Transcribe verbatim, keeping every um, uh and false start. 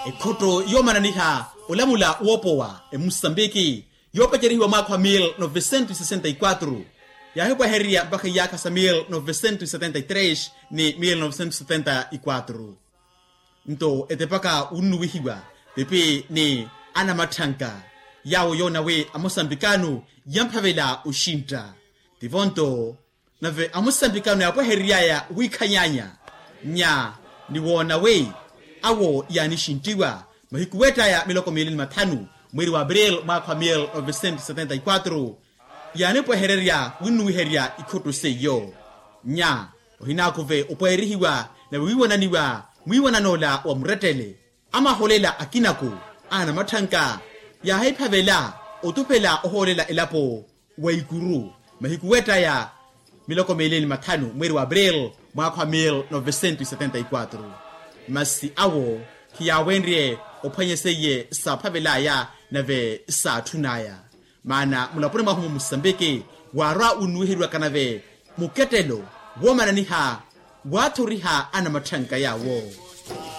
Ekhotto yoomananiha olamula woopowa emusambiki yoopacerihiwa mwaakha wa mil novecentos sesenta y quatro yaahipwehererya mpakha iyaakha sa mil novecentos setenta y tres ni mil novecentos setenta y quatro. Nto etepaka wunnuwihiwa pipi ni anamatthanka yaawo yoona wi amusambikano yamphavela oxintta. Tivo nto nave amusambikano yaapwehereryaya wiikhanyanya nya ni woona wi awo yaanixinttiwa mahiku weettaya miloko miili ni mathanu mweeri wa april mwaakha wa mil novecentos setenta y quatro. Yaanipwehererya winnuwiherya ikhotto seiyo nya ohinaakuve opweerihiwa nave wiiwananiwa mwiiwanan'ola wa murettele. Amaholela akinako anamatthanka yaahiphavela otuphela ohoolela elapo wa ikuru mahiku weettaya miloko miili ni mathanu mweeri wa april mwaakha wa mil novecentos setenta y quatro. Masi awo khiyaawenrye ophwanya seiye saaphavel'aya nave saatthun'aya. Maana mulaponi mwahu mu musambiki waarwa wunnuwiheriwaka nave mukettelo woomananiha waathoriha anamatthanka yaawo.